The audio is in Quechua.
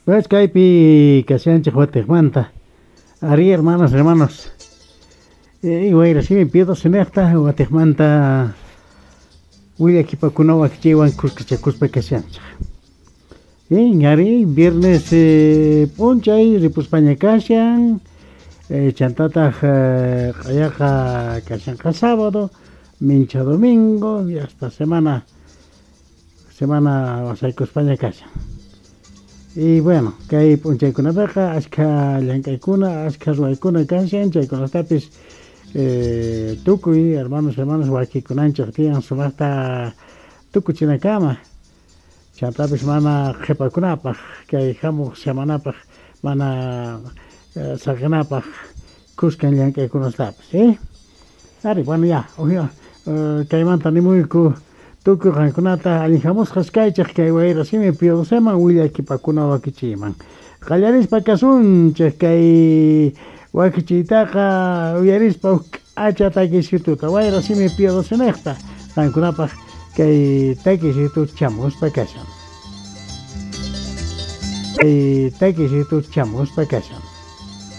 Pues kaypi kashanchik watiqmanta. Ari, hermanos, hermanos. Wayra simi Pio XII niqta watiqmanta willakipakuna wakichiywan kuskachakuspa kashanchik. Ari, viernes p'unchay ripuspaña kashan, chantataq q'ayaqa kashanqa sábado, mincha domingo y hasta semana wasaykuspaña kashan. Y bueno, kay p'unchaykunapiqa ashkha llank'aykuna, ashkha ruwaykuna kashan, chaykunatapis tukuy hermanos, hermanos wakikunanchik tiyan sumaqta tukuchinakama. Chantapis mana qhipakunapaq, kay hamuq semanapaq mana saqinapaq kuskan llank'aykunastapis, eh? Ari, bueno, ya, kaymanta nimuyku tukuy qankunata allin hamusqas kaychik kay wayra simi Pio XII willakipakuna wakichiyman. Qallarispa kasunchik kay wakichiytaqa uyarispa huk k'acha takisituta wayra simi Pio XII niqta qankunapaq kay takisitu chamuspa kashan. Kay takisitu chamuspa kashan.